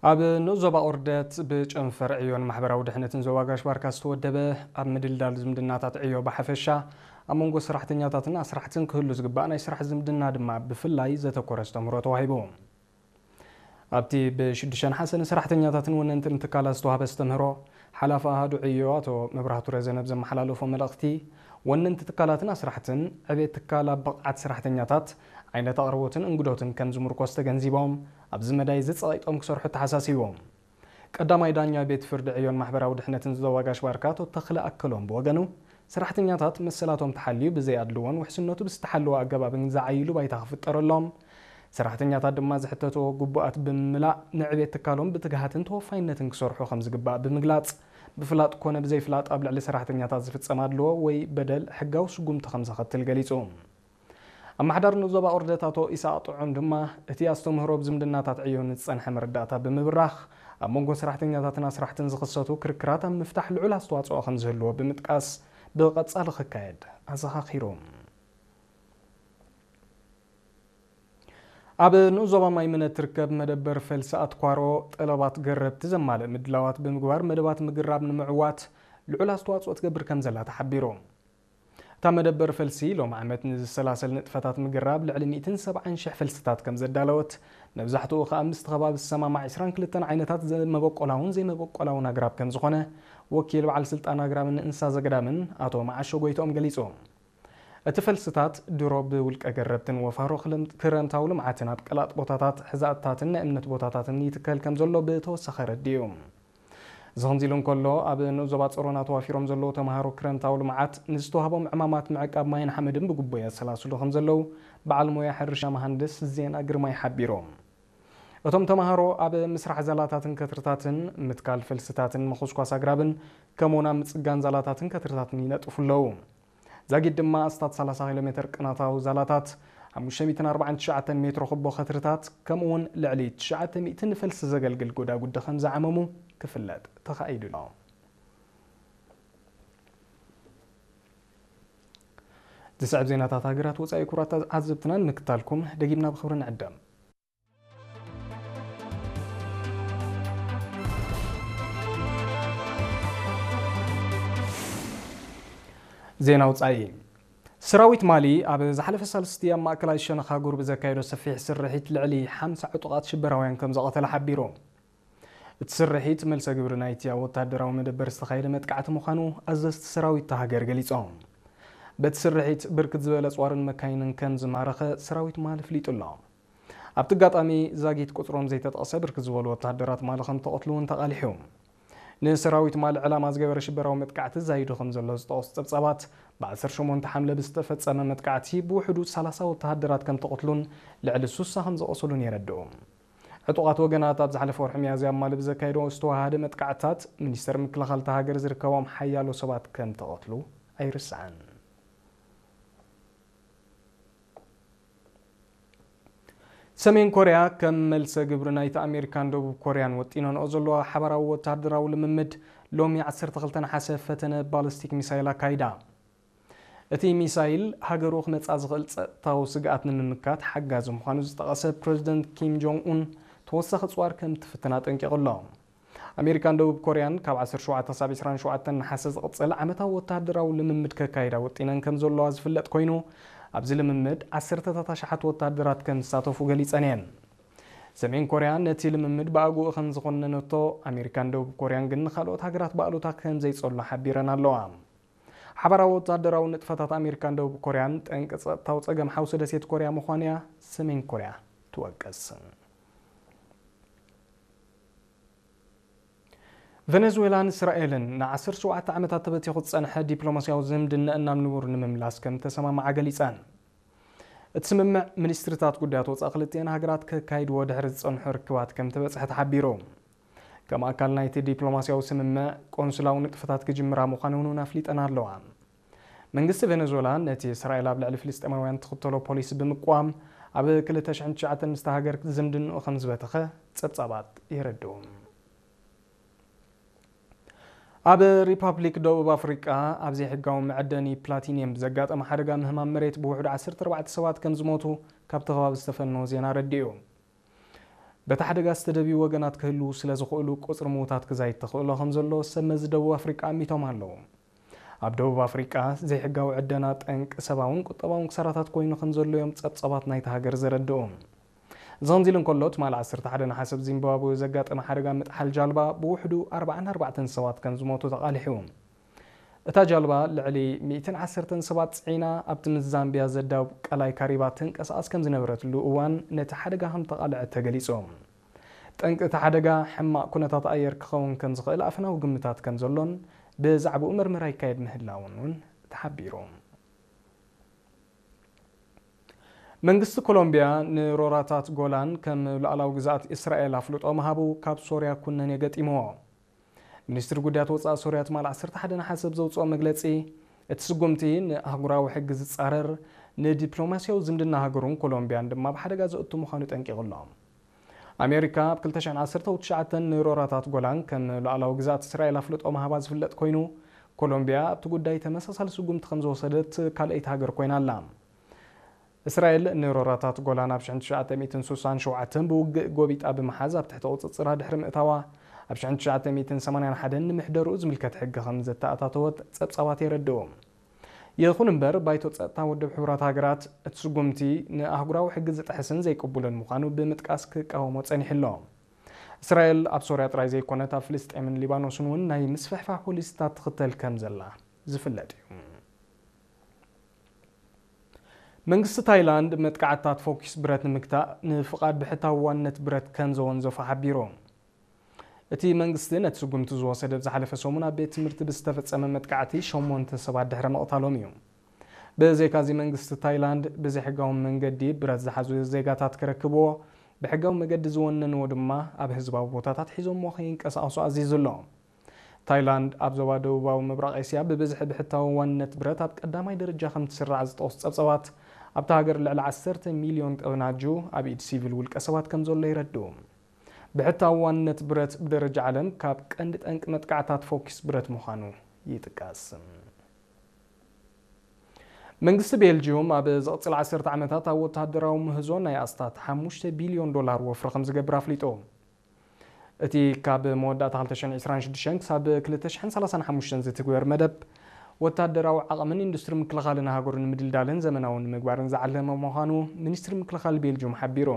ኣብ ንኡስ ዞባ ኦርደት ብጨንፈር ዕዮን ማሕበራዊ ድሕነትን ዞባ ጋሽ ባርካ ዝተወደበ ኣብ ምድልዳል ዝምድናታት ዕዮ ብሓፈሻ ኣብ መንጎ ሰራሕተኛታትን ኣስራሕትን ክህሉ ዝግባእ ናይ ስራሕ ዝምድና ድማ ብፍላይ ዘተኮረ ኣስተምህሮ ተዋሂቡ። ኣብቲ ብ ሽዱሽተ ነሓሰ ንሰራሕተኛታትን ወነንትን ትካላት ዝተዋህበ ኣስተምህሮ፣ ሓላፊ ኣሃዱ ዕዮ ኣቶ መብራህቱ ረዘነ ብዘመሓላለፎ መልእኽቲ፣ ወነንቲ ትካላትን ኣስራሕትን ዕቤት ትካል ኣብ ብቕዓት ሰራሕተኛታት፣ ዓይነት ኣቕርቦትን እንግዶትን ከም ዝምርኮስ ተገንዚቦም፣ ኣብዚ መዳይ እዚ ጸቒጦም ክሰርሑ ተሓሳሲቦም። ቀዳማይ ዳኛ ቤት ፍርዲ ዕዮን ማሕበራዊ ድሕነትን ዞባ ጋሽ ባርካ ኣቶ ተኽለ ኣከሎም ብወገኑ፣ ሰራሕተኛታት መሰላቶም ተሓልዩ ብዘይ ኣድልዎን ውሕስነቱ ብዝተሓለወ ኣገባብን ዝዓይሉ ባይታ ክፍጠረሎም፣ ሰራሕተኛታት ድማ ዝሕተትዎ ግቡኣት ብምምላእ ንዕቤት ትካሎም ብትግሃትን ተወፋይነትን ክሰርሑ ከም ዝግባእ ብምግላጽ፣ ብፍላጥ ኮነ ብዘይፍላጥ ኣብ ልዕሊ ሰራሕተኛታት ዝፍጸም ኣድልዎ ወይ በደል ሕጋዊ ስጉምቲ ከም ዘኸትል ገሊጹ። ኣመሓዳሪ ንኡስ ዞባ ኦርደት ኣቶ ኢሳቕ ጥዑም ድማ፣ እቲ ኣስተምህሮ ብዝምድናታት ዕዮ ንዝጸንሐ መረዳእታ ብምብራኽ፣ ኣብ መንጎ ሰራሕተኛታትን ኣስራሕትን ዝኽሰቱ ክርክራት ኣብ ምፍታሕ ልዑል ኣስተዋጽኦ ከም ዝህልዎ ብምጥቃስ፣ ብቐጻሊ ክካየድ ኣዘኻኺሩ። ኣብ ንኡስ ዞባ ማይምነ እትርከብ መደበር ፈልሲ ኣትኳሮ፣ ጠለባት ገረብቲ ዘማልእ ምድላዋት ብምግባር መደባት ምግራብ ንምዕዋት ልዑል ኣስተዋጽኦ ትገብር ከም ዘላ ተሓቢሩ። እታ መደበር ፈልሲ ሎም ዓመት ንዝሰላሰል ንጥፈታት ምግራብ ልዕሊ ሚእትን ሰብዓን ሽሕ ፈልስታት ከም ዘዳለወት፣ መብዛሕትኡ ከኣ ምስቲ ከባቢ ዝሰማማዕ ዕስራን ክልተን ዓይነታት ዘ-፣ መበቆላውን ዘይመበቆላውን ኣግራብ ከም ዝኾነ ወኪል በዓል ስልጣን ኣግራብን እንስሳ ዘገዳምን ኣቶ መዓሾ ጎይትኦም ገሊጹ። እቲ ፈልስታት ድሮ ብውልቀ ገረብትን ወፋሮ ክለም-፣ ክረምታዊ ልምዓትን ኣብ ቀላጥ ቦታታት፣ ሕዛእትታትን ናይ እምነት ቦታታትን ይትከል ከም ዘሎ ብተወሳኺ ኣረዲኡ። እዚ ከምዚ ኢሉ እንከሎ፣ ኣብ ንኡስ ዞባ ጸሮና ተዋፊሮም ዘለዉ ተምሃሮ ክረምታዊ ልምዓት ንዝተዋህቦም ዕማማት ምዕቃብ ማይን ሓመድን ብግቡእ የሰላስሉ ከም ዘለዉ በዓል ሞያ ሕርሻ መሃንድስ ዜና ግርማይ ሓቢሮም። እቶም ተምሃሮ ኣብ ምስራሕ ዛላታትን ከትርታትን፣ ምትካል ፈልስታትን ምኹስኳስ ኣግራብን፣ ከምኡውን ኣብ ምጽጋን ዛላታትን ከትርታትን ይነጥፉ ኣለዉ። ዛጊድ ድማ ኣስታት ሰላሳ ኪሎ ሜተር ቅናታዊ ዛላታት፣ ሓሙሽተ ሚእትን ኣርባዓን ትሽዓተን ሜትሮ ኩቦ ከትርታት፣ ከምኡውን ልዕሊ ትሽዓተ ሚእቲ ንፈልሲ ዘገልግል ጎዳጉዲ ከም ዝዓመሙ ክፍለጥ ተኻኢሉ ኣሎ። ዝስዕብ ዜናታት ሃገራት ወጻኢ ክቡራት ዓዘብትና ንምክታልኩም ደጊምና ብኽብሪ ንዕደም። ዜና ውጻኢ። ሰራዊት ማሊ ኣብ ዝሓለፈ ሳልስቲ ኣብ ማእከላይ ሸነኽ ሃገሩ ብዘካየዶ ሰፊሕ ስርሒት ልዕሊ ሓምሳ ዕጡቓት ሽበራውያን ከም ዘቐተለ ሓቢሩ። እቲ ስርሒት መልሰ ግብሪ ናይቲ ኣብ ወተሃደራዊ መደበር ዝተኻየደ መጥቃዕቲ ምዃኑ ኣዘዝቲ ሰራዊት እታ ሃገር ገሊጾም። በቲ ስርሒት ብርክት ዝበለ ኣጽዋርን መካይንን ከም ዝማረኸ ሰራዊት ማሊ ኣፍሊጡ ኣሎ። ኣብቲ ኣጋጣሚ ዛጊት ቁጽሮም ዘይተጠቕሰ ብርክት ዝበሉ ወተሃደራት ማሊ ከም ተቐትሉ እውን ተቓሊሑ። ንሰራዊት ማሊ ዕላማ ዝገበረ ሽበራዊ መጥቃዕቲ ዛይዱ ከም ዘሎ ዝጠቐሱ ጸብጻባት፣ ብ ዓሰርተ ሸሞንተ ሓምለ ብዝተፈጸመ መጥቃዕቲ ብውሕዱ ሰላሳ ወተሃደራት ከም ተቐትሉን ልዕሊ ስሳ ከም ዝቖሰሉን የረድኡ። ዕጡቓት ወገናት ኣብ ዝሓለፈ ወርሒ ሚያዝያ ኣብ ማሊ ብዘካየዶ ዝተዋሃደ መጥቃዕትታት፣ ሚኒስተር ምክልኻል እታ ሃገር ዝርከቦም ሓያሎ ሰባት ከም ተቐትሉ ኣይርስዓን። ሰሜን ኮርያ ከም መልሰ ግብሪ ናይቲ ኣሜሪካን ደቡብ ኮርያን ወጢነንኦ ዘለዋ ሓባራዊ ወተሃደራዊ ልምምድ፣ ሎሚ ዓሰርተ ክልተ ነሓሰ ፈተነ ባሊስቲክ ሚሳይል ኣካይዳ። እቲ ሚሳይል፣ ሃገሩ ክመጽኣ ዝኽእል ጸጥታዊ ስግኣት ንምምካት ሓጋዚ ምዃኑ ዝጠቐሰ ፕረዚደንት ኪም ጆንግ ኡን፣ ተወሳኺ ኣጽዋር ከም ትፍትን ኣጠንቂቑ ኣሎ። ኣሜሪካን ደቡብ ኮርያን ካብ ዓሰርተ ሸውዓተ ክሳብ ዕስራን ሸውዓተን ነሓሰ ዝቕጽል ዓመታዊ ወተሃደራዊ ልምምድ ከካይዳ ወጢነን ከም ዘለዋ ዝፍለጥ ኮይኑ፣ ኣብዚ ልምምድ ዓሰርተታት ኣሽሓት ወተሃደራት ከም ዝሳተፉ ገሊጸን እየን። ሰሜን ኮርያ ነቲ ልምምድ ብኣግኡ ከም ዝኾነነቶ፣ ኣሜሪካን ደቡብ ኮርያን ግን ንኻልኦት ሃገራት ብኣሉታ ከም ዘይጸሉ ሓቢረን ኣለዋ። ሓባራዊ ወተሃደራዊ ንጥፈታት ኣሜሪካን ደቡብ ኮርያን ጠንቂ ጸጥታዊ ጸገም ሓውሲ ደሴት ኮርያ ምዃኑ እያ ሰሜን ኮርያ ትወቅስ። ቨነዙዌላን እስራኤልን ንዓሰርተ ሸውዓተ ዓመታት ተበቲኹ ዝጸንሐ ዲፕሎማስያዊ ዝምድናኣን ናብ ንቡር ንምምላስ ከም ተሰማምዓ ገሊጸን። እቲ ስምምዕ ሚኒስትሪታት ጉዳያት ወጻኢ ክልቲኤን ሃገራት ከካይድዎ ድሕሪ ዝጸንሑ ርክባት ከም ተበጽሐ ተሓቢሩ። ከም ኣካል ናይቲ ዲፕሎማስያዊ ስምምዕ፣ ቆንስላዊ ንጥፈታት ክጅምራ ምዃነን እውን ኣፍሊጠን ኣለዋ። መንግስቲ ቬነዙዌላ ነቲ እስራኤል ኣብ ልዕሊ ፍልስጤማውያን ትኽተሎ ፖሊሲ ብምቅዋም፣ ኣብ ክልተ ሽሕን ትሽዓተን ምስታ ሃገር ዝምድንኡ ከም ዝበተኸ ጸብጻባት የረድኡ። ኣብ ሪፓብሊክ ደቡብ ኣፍሪቃ ኣብ ዘይሕጋዊ መዐደኒ ፕላቲኒየም ብዘጋጠመ ሓደጋ ምህማም መሬት ብውሕዱ ዓሰርተ ኣርባዕተ ሰባት ከም ዝሞቱ ካብቲ ከባቢ ዝተፈነወ ዜና ኣረዲኡ። በቲ ሓደጋ ዝተደብዩ ወገናት ክህልዉ ስለ ዝኽእሉ፣ ቁጽሪ ምዉታት ክዛይድ ተኽእሎ ከም ዘሎ ሰብ መዚ ደቡብ ኣፍሪቃ ኣሚቶም ኣለዉ። ኣብ ደቡብ ኣፍሪቃ፣ ዘይሕጋዊ ዕደና ጠንቂ ሰብኣውን ቁጠባውን ክሳራታት ኮይኑ ከም ዘሎ እዮም ጸብጻባት ናይታ ሃገር ዘረድኡ። እዚ ከምዚ ኢሉ እንከሎ፣ ትማሊ ዓሰርተ ሓደ ነሓሰ ኣብ ዚምባብወ ዘጋጠመ ሓደጋ ምጥሓል ጃልባ ብውሕዱ ኣርባዓን ኣርባዕተን ሰባት ከም ዝሞቱ ተቓሊሑ። እታ ጃልባ ልዕሊ ሚእትን ዓሰርተን ሰባት ጽዒና ኣብቲ ምስ ዛምቢያ ዘዳውብ ቀላይ ካሪባ ትንቀሳቐስ ከም ዝነበረትሉ እዋን ነቲ ሓደጋ ከም ተቓልዐት ተገሊጹ። ጠንቂ እቲ ሓደጋ ሕማቕ ኩነታት ኣየር ክኸውን ከም ዝኽእል ኣፈናዊ ግምታት ከም ዘሎን ብዛዕባኡ መርመራ ይካየድ ምህላውን እውን ተሓቢሩ። መንግስቲ ኮሎምቢያ ንሮራታት ጎላን ከም ሉዓላዊ ግዝኣት እስራኤል ኣፍልጦ ምሃቡ ካብ ሶርያ ኩነኔ ገጢምዎ። ሚኒስትሪ ጉዳያት ወጻኢ ሶርያ ትማል ዓሰርተ ሓደ ነሓሰ ኣብ ዘውጽኦ መግለጺ፣ እቲ ስጉምቲ ንኣህጉራዊ ሕጊ ዝጻረር፣ ንዲፕሎማስያዊ ዝምድና ሃገሩን ኮሎምቢያን ድማ ኣብ ሓደጋ ዘእቱ ምዃኑ ጠንቂቑ ኣሎ። ኣሜሪካ ኣብ ክልተ ሽሕን ዓሰርተ ትሽዓተን ንሮራታት ጎላን ከም ሉዓላዊ ግዝኣት እስራኤል ኣፍልጦ ምሃባ ዝፍለጥ ኮይኑ፣ ኮሎምቢያ ኣብቲ ጉዳይ ተመሳሳሊ ስጉምቲ ከም ዝወሰደት ካልኣይቲ ሃገር ኮይና ኣላ። እስራኤል ንሮራታት ጎላን ኣብ ሽሕን ትሽዓተ ሚእትን ስሳን ሸውዓተን ብውግእ ጎቢጣ ብምሓዝ ኣብ ትሕቲ ቁጽጽራ ድሕሪ ምእታዋ፣ ኣብ ሽሕን ትሽዓተ ሚእትን ሰማንያን ሓደን ንምሕደርኡ ዝምልከት ሕጊ ከም ዘተኣታተወት ጸብጻባት የረድኡ። ይኹን እምበር፣ ባይቶ ጸጥታ ውድብ ሕቡራት ሃገራት እቲ ስጉምቲ ንኣህጉራዊ ሕጊ ዝጥሕስን ዘይቅቡልን ምዃኑ ብምጥቃስ ክቃወሞ ጸኒሑ ኣሎ። እስራኤል ኣብ ሶርያ ጥራይ ዘይኮነት፣ ኣብ ፍልስጤምን ሊባኖስን እውን ናይ ምስፍሕፋሕ ፖሊሲታት ትኽተል ከም ዘላ ዝፍለጥ እዩ። መንግስቲ ታይላንድ መጥቃዕትታት ፎኪስ ብረት ንምግታእ ንፍቓድ ብሕታዊ ዋንነት ብረት ከም ዘወንዘፎ ሓቢሩ። እቲ መንግስቲ ነቲ ስጉምቲ ዝወሰደ ኣብ ዝሓለፈ ሰሙን ኣብ ቤት ትምህርቲ ብዝተፈጸመ መጥቃዕቲ ሸሞንተ ሰባት ድሕሪ ምቕታሎም እዩ። ብዘይካዚ መንግስቲ ታይላንድ ብዘይሕጋዊ መንገዲ ብረት ዝሓዙ ዜጋታት ክረክብዎ ብሕጋዊ መገዲ ዝወነንዎ ድማ ኣብ ህዝባዊ ቦታታት ሒዞምዎ ከይንቀሳቐሱ ኣዚዙ ኣሎ። ታይላንድ ኣብ ዞባ ደቡባዊ ምብራቕ ኤስያ ብብዝሒ ብሕታዊ ዋንነት ብረት ኣብ ቀዳማይ ደረጃ ከም ትስራዕ ዝጠቕሱ ጸብጸባት፣ ኣብታ ሃገር ልዕሊ ዓሰርተ ሚልዮን ጠብናጁ ኣብ ኢድ ሲቪል ውልቀ ሰባት ከም ዘሎ ይረድኡ። ብሕታዊ ዋንነት ብረት ብደረጃ ዓለም ካብ ቀንዲ ጠንቂ መጥቃዕታት ፎኪስ ብረት ምዃኑ ይጥቀስ። መንግስቲ ቤልጅዩም ኣብ ዝቕጽል ዓሰርተ ዓመታት ኣብ ወተሃደራዊ ምህዞ ናይ ኣስታት ሓሙሽተ ቢልዮን ዶላር ወፍሪ ከም ዝገብር ኣፍሊጡ። እቲ ካብ መወዳእታ ክልተ ሽሕን ዕስራን ሽዱሽተን ክሳብ ክልተ ሽሕን ሰላሳን ሓሙሽተን ዝትግበር መደብ፣ ወተሃደራዊ ዓቕምን ኢንዱስትሪ ምክልኻልን ሃገሩ ንምድልዳልን ዘመናዊ ንምግባርን ዝዓለመ ምዃኑ ሚኒስትሪ ምክልኻል ቤልጅዩም ሓቢሩ።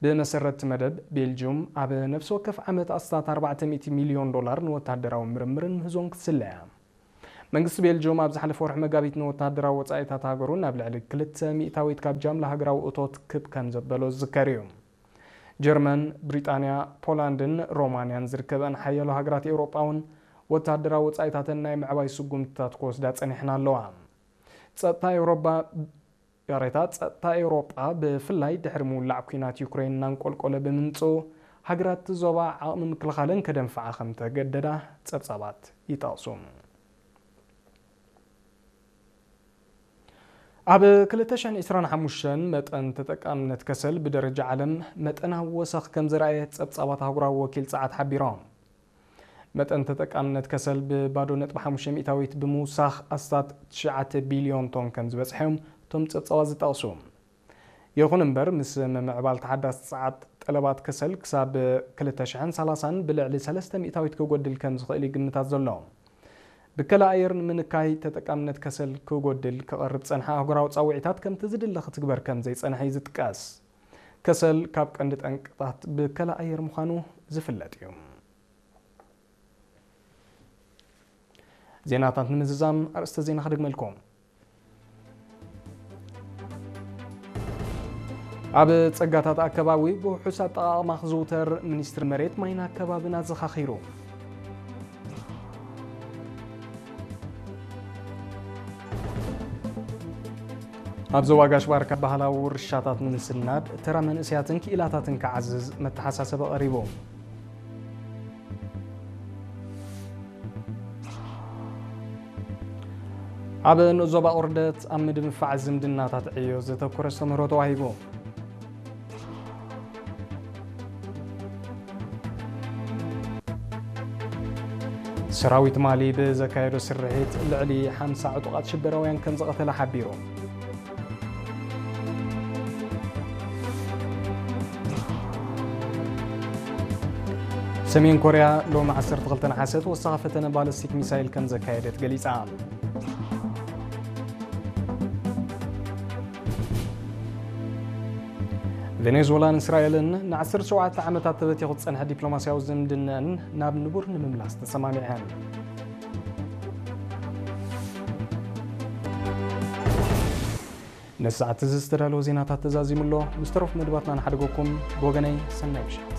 ብመሰረት እቲ መደብ፣ ቤልጅዩም ኣብ ነፍሲ ወከፍ ዓመት ኣስታት ኣርባዕተ ሚእቲ ሚልዮን ዶላር ንወተሃደራዊ ምርምርን ምህዞን ክትስለ እያ። መንግስቲ ቤልጅዩም ኣብ ዝሓለፈ ወርሒ መጋቢት ንወተሃደራዊ ወጻኢታት ሃገሩ ናብ ልዕሊ ክልተ ሚእታዊት ካብ ጃምላ ሃገራዊ እቶት ክብ ከም ዘበሎ ዝዝከር እዩ። ጀርመን፣ ብሪጣንያ፣ ፖላንድን ሮማንያን ዝርከበን ሓያሎ ሃገራት ኤውሮጳ እውን ወተሃደራዊ ወጻኢታተን ናይ ምዕባይ ስጉምትታት ክወስዳ ጸኒሐን ኣለዋ። ጸጥታ ኤውሮጳ፣ ይቕሬታ፣ ጸጥታ ኤውሮጳ ብፍላይ ድሕሪ ምውላዕ ኲናት ዩክሬን እናንቆልቆለ ብምምጽኡ፣ ሃገራት እቲ ዞባ ዓቕሚ ምክልኻለን ከደንፍዓ ከም ተገደዳ ጸብጻባት ይጠቕሱ። ኣብ ክልተ ሽሕን ዕስራን ሓሙሽተን መጠን ተጠቃምነት ከሰል ብደረጃ ዓለም መጠናዊ ወሰኽ ከም ዘርኣየ ጸብጻባት ኣህጉራዊ ወኪል ጸዓት ሓቢሮም። መጠን ተጠቃምነት ከሰል ብባዶ ነጥቢ ሓሙሽተ ሚእታዊት ብምውሳኽ ኣስታት ትሽዓተ ቢልዮን ቶን ከም ዝበጽሐ እዮም እቶም ጸብጻባት ዝጠቕሱ። ይኹን እምበር፣ ምስ ምምዕባል ተሓዳሲ ጸዓት፣ ጠለባት ከሰል ክሳብ ክልተ ሽሕን ሰላሳን ብልዕሊ ሰለስተ ሚእታዊት ክጎድል ከም ዝኽእል እዩ ግምታት ዘሎ። ብከላ ኣየር ንምንካይ ተጠቃምነት ከሰል ክጎድል ክቐርብ ጸንሐ ኣህጉራዊ ጻውዒታት ከምቲ ዝድለ ክትግበር ከም ዘይጸንሐ እዩ ዝጥቀስ። ከሰል ካብ ቀንዲ ጠንቅታት ብከላ ኣየር ምዃኑ ዝፍለጥ እዩ። ዜናታት ንምዝዛም ኣርእስተ ዜና ክደግመልኩም። ኣብ ጸጋታት ኣከባቢ ብውሑስ ኣጠቓቕማ ክዝውተር ሚኒስትሪ መሬት ማይን ኣከባብን ኣዘኻኺሩ። ኣብ ዞባ ጋሽ ባርካ ባህላዊ ውርሻታት ንምስናድ ተራ መንእሰያትን ክኢላታትን ክዓዝዝ መተሓሳሰቢ ቀሪቡ። ኣብ ንኡስ ዞባ ቁርደት ኣብ ምድንፋዕ ዝምድናታት ዕዮ ዘተኮረ ኣስተምህሮ ተዋሂቡ። ሰራዊት ማሊ ብዘካየዶ ስርሒት ልዕሊ ሓምሳ ዕጡቓት ሽበራውያን ከም ዝቐተለ ሓቢሩ። ሰሜን ኮርያ ሎሚ ዓሰርተ ክልተ ነሓሰ ተወሳኺ ፈተነ ባለስቲክ ሚሳይል ከም ዘካየደት ገሊጻ። ቬኔዙዌላን እስራኤልን ን ዓሰርተ ሸውዓተ ዓመታት ተበቲኹ ዝጸንሐ ዲፕሎማስያዊ ዝምድነን ናብ ንቡር ንምምላስ ተሰማሚዐን። ነዚ ሰዓት እዚ ዝተዳለወ ዜናታት ተዛዚሙ ኣሎ። ምስ ተረፉ መደባትና ንሓድገኩም። ብወገነይ ሰናይ ምሸት።